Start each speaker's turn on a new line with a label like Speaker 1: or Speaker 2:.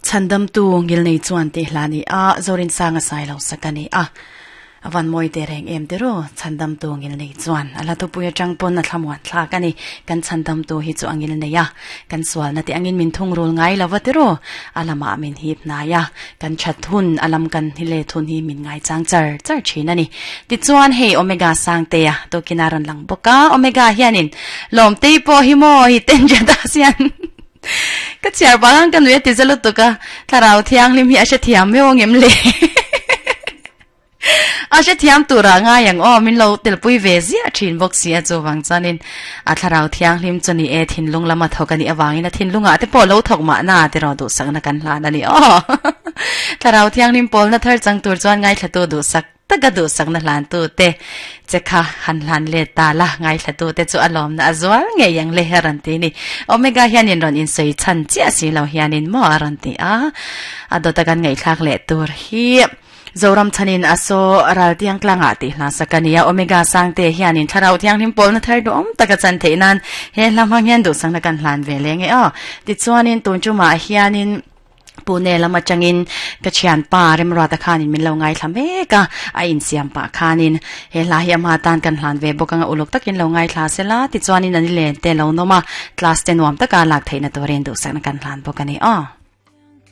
Speaker 1: Chhandamtu ngilnei chuan tih hla ni a, Zorinsanga Sailo sak a ni a. A van mawi teh reng em ti ru, Chhandamtu ngilnei chuan a hla thupui atang pawn a thlamuan thlak a ni. Kan Chhandamtu hi chu a ngilnei a, kan sualna te angin min thungrul ngai lo va ti ru, a lamah min hip hnai a, kan that hun a lam kan hi let hun hi min ngaichang char char thin a ni. Tichuan hei Omega Sangtea tukin a rawn lang bawk a, Omega hianin Lawmtei pawh hi maw hi Tenjadas hian Ka chhiar vang ang ka nui a ti za lutuk a, thlarau thianghlim hi a hrethiam meuh ang em le? A hrethiam turah ngai ang aw, min lo telpui ve ziah thin bawk si a chuvang chuanin a thlarau thianghlim chu ni e thinlung lama thawk a nih avangin a thinlungah te pawh lo thawk mahna tiraw duhsakna kan hlan a ni aw. Thlarau thianghlim pawlna thar chang tur chuan ngaithlatu duhsak Taka duhsakna hlantute che kha han hlan let ta la, ngaithlatute chu a lawmna a zual ngei ang le a rawn ti ni. Omega hianin rawn insawi chhan chiah si lo hianin maw a rawn ti a, a dawta kan ngaihthlak leh tur hi Zoram chhanin a saw ral tiang tlangah tih hla sak a ni a, Omega Sangte hianin thlarau thianghlim pawlna thar duhawm taka chan theih nan he hla hmang hian duhsakna kan hlan ve leng e aw. Tichuanin tun tumah hianin. Pune lam atangin ka thianpa Remruata khanin min lo ngaithla mek a, a insiam pah khanin he hla hi ama tan kan hlan ve bawk anga uluk takin lo ngaithla sela tichuanin an i len te lo nawm a, class te nuam taka lak theihna turin duhsakna kan hlan bawk a ni aw.